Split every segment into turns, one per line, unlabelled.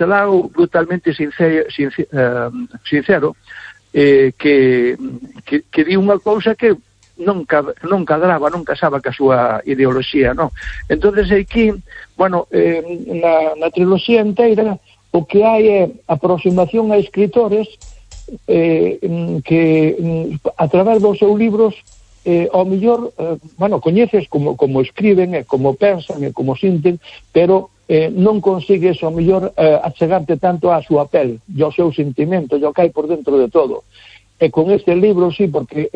Castelao brutalmente sincero, que di unha cousa que non cadraba, non casaba ca súa ideoloxía, non? Entonces aquí, bueno, na triloxía inteira o que hai é aproximación a escritores que a través dos seus libros ao mellor, bueno, coñeces como escriben e como pensan e como sinten, pero non consigues ao mellor achegarte tanto á súa pel e ao seu sentimento, e ao que hai por dentro de todo. E con este libro, sí, porque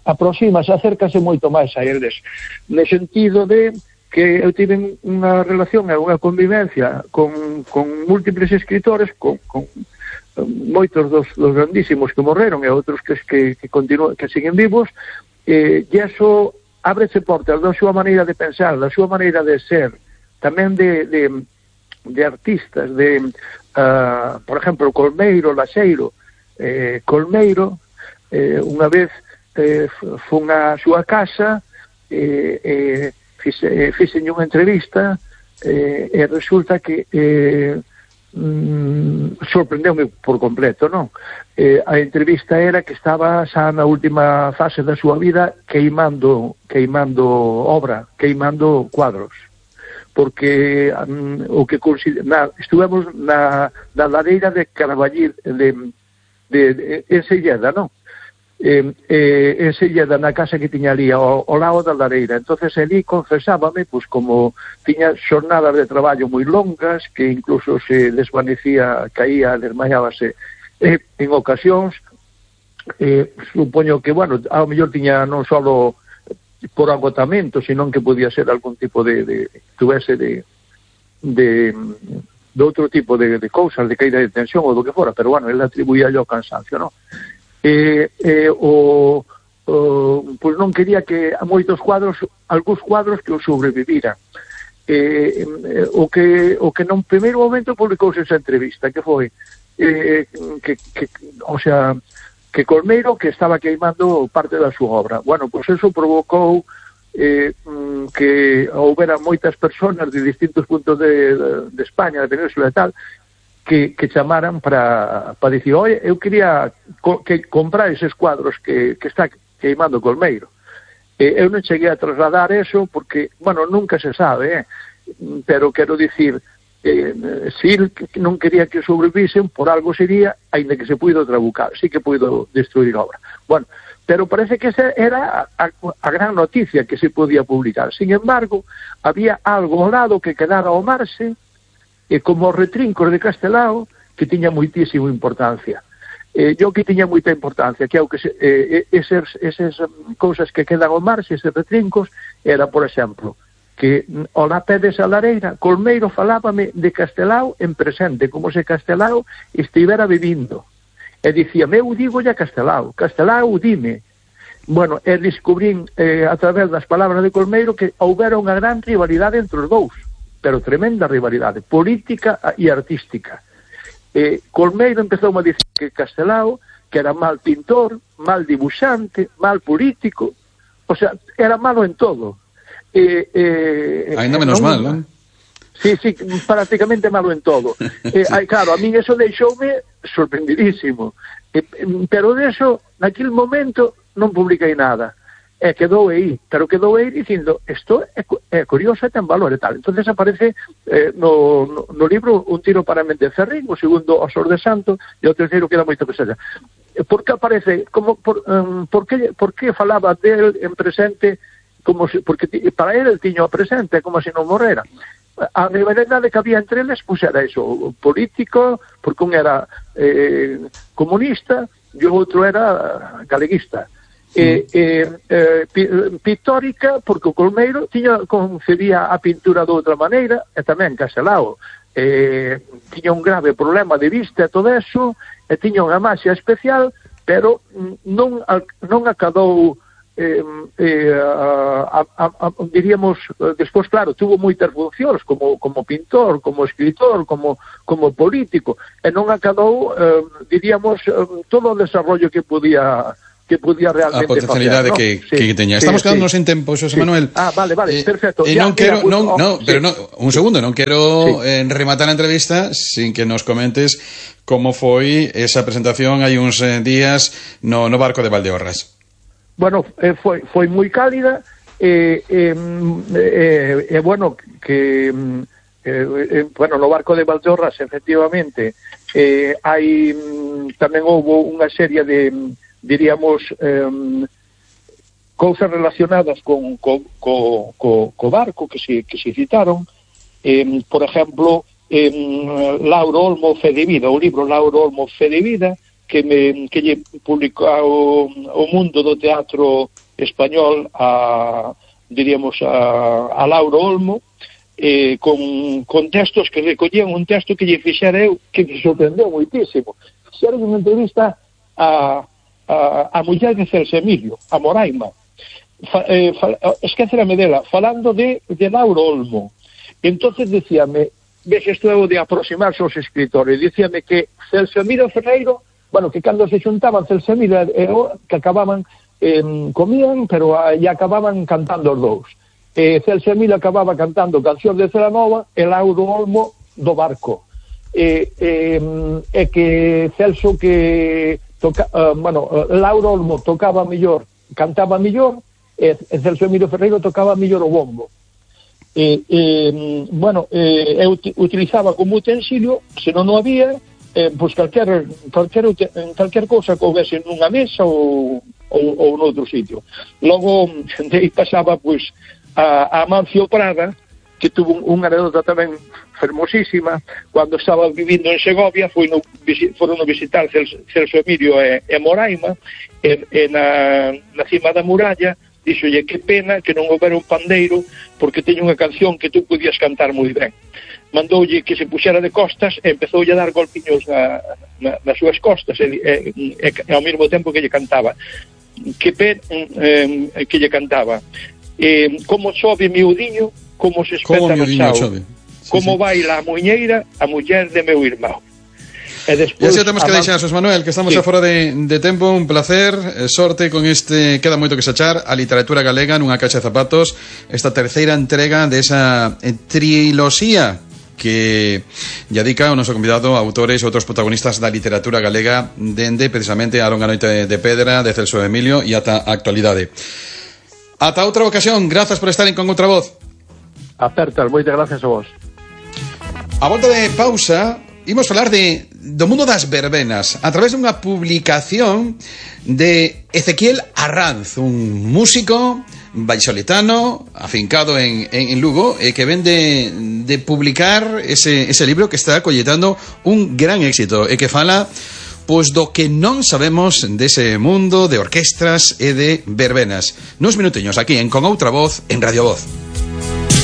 aproximase, acércase moito máis a eles, no sentido de que eu tive unha relación e unha convivencia con múltiples escritores, con moitos dos grandísimos que morreron e outros que siguen vivos, e iso ábrese portas da súa maneira de pensar, da súa maneira de ser, tamén de artistas, por exemplo, Colmeiro, Laxeiro. Colmeiro, unha vez fun á súa casa, fixenlle unha entrevista, e resulta que sorprendeume por completo, non? A entrevista era que estaba xa na última fase da súa vida queimando obra, queimando cuadros, porque estuvemos na lareira de Caraballir en Selleda, non? En Selleda, na casa que tiña ali ao lado da lareira. Entonces ali confesábame, pois como tiña xornadas de traballo moi longas, que incluso se desvanecía, caía, desmayábase en ocasións, supoño que, bueno, ao mellor tiña non só por agotamento, senón que podía ser algún tipo de outro tipo de cousas, de caída de tensión ou do que fora, pero bueno, ele atribuía ao cansancio, non? Pois non quería que a moitos cuadros, algúns cuadros que o sobreviviran. O que non primeiro momento publicouse esa entrevista, que foi que Colmeiro que estaba queimando parte da súa obra. Bueno, pois eso provocou que houbera moitas persoas de distintos puntos de España, de Península e tal, que chamaran para dicir, oi, eu quería que comprar eses cuadros que está queimando Colmeiro. Eu non cheguei a trasladar eso porque, bueno, nunca se sabe, pero quero dicir, se ele non quería que sobrevisen, por algo sería, aínda que se puido trabucar, sí que puido destruir obra. Bueno, pero parece que esa era a gran noticia que se podía publicar. Sin embargo, había algo ao lado que quedara ao marxe, e como os retrincos de Castelao, que tiña moitísima importancia. Eu que tiña moita importancia, que é o que esas cousas que quedan ao marxe, eses retrincos, era, por exemplo, que ao lapé desa lareira, Colmeiro falábame de Castelao en presente, como se Castelao estivera vivindo. E dicía, eu digo ya Castelao dime. Bueno, e descubrín a través das palabras de Colmeiro que houbera unha gran rivalidade entre os dous, pero tremenda rivalidade, política e artística. Colmeiro empezou a dicir que Castelao, que era mal pintor, mal dibuixante, mal político, o sea, era malo en todo.
Ainda menos mal, non?
Sí, prácticamente malo en todo. Claro, a min eso deixoume sorprendidísimo. Pero deso, naquele momento, non publiquei nada. Quedou aí, pero quedou aí dicindo, isto é curioso e ten valor e tal. Entonces aparece no libro Un tiro para Méndez Ferrín, o segundo Os de Santo, e o terceiro queda moito que seja. Por que aparece? Por que falaba del en presente? Porque para ele tiño o presente como se non morrera. A rivalidade que había entre eles, pois era iso, político, porque un era comunista e o outro era galeguista. Pictórica, porque o Colmeiro concebía a pintura de outra maneira, e tamén Castelao tiña un grave problema de vista e todo eso, e tiña unha maxia especial, pero non acadou diríamos, despois, claro, tuvo moitas funcións como pintor, como escritor, como político, e non acadou, diríamos, todo o desarrollo que podía podía realmente
a potencialidade
facer,
que teña. Estamos quedándonos en tempo, Xosé Manuel.
Vale, perfecto.
Non quero, un segundo, non quero rematar a entrevista sin que nos comentes como foi esa presentación hai uns días no barco de Valdeorras.
Bueno, foi moi cálida, bueno, que no barco de Valdeorras efectivamente hai tamén houve unha serie de, diríamos, cousas relacionadas co barco que se citaron, por exemplo, Lauro Olmo Fe de Vida, o libro Lauro Olmo Fe de Vida, que lle publicou o mundo do teatro español diríamos a Lauro Olmo, con textos que recollían un texto que lle fixera eu, que me sorprendeu moitísimo. Fixera unha entrevista a muller de Celso Emilio, a Moraima, esquecerame dela, falando de Lauro Olmo. Entonces decíame, ves, isto é o de aproximarse aos escritores, decíame que Celso Emilio Ferreiro, bueno, que cando se xuntaban Celso Emilio que acababan, comían, pero e acababan cantando os dous. Celso Emilio acababa cantando cancións de Celanova e Lauro Olmo do barco. E que Celso Lauro Olmo tocaba mellor, cantaba mellor, e Celso Emilio Ferreiro tocaba mellor o bombo. Eu utilizaba como utensilio, se non o había, pois calquer cousa que houvese nunha mesa ou noutro sitio. Logo, de aí pasaba, pois, a Amancio Prada, que tuvo unha anécdota tamén fermosísima, cando estaba vivindo en Segovia, foron visitar Celso Emilio e Moraima, na cima da muralla, díxolle que pena que non houbera un pandeiro, porque teño unha canción que tú podías cantar moi ben. Mandoulle que se puxera de costas e empezoulle a dar golpiños nas súas costas e ao mesmo tempo que lle cantaba. Que lle cantaba. Como chove miudiño, como se espeta no chao. Como baila a muñeira, a muller de meu irmão.
E así temos que deixar, Xosé Manuel, que estamos afora de tempo. Un placer, sorte con queda moito que sachar a literatura galega nunha caixa de zapatos, esta terceira entrega desa triloxía que lle dedica o noso convidado a autores e outros protagonistas da literatura galega dende precisamente a longa noite de Pedra de Celso Emilio e ata a actualidade. Ata outra ocasión, grazas por estar en Con Outra Voz.
Apertas, moitas gracias a vos.
A volta de pausa imos falar do mundo das verbenas a través dunha publicación de Ezequiel Arranz, un músico vallisoletano afincado en Lugo, que ven de publicar ese libro que está colletando un gran éxito e que fala pois do que non sabemos dese mundo de orquestras e de verbenas. Nuns minutiños aquí en Con Outra Voz en Radio Voz.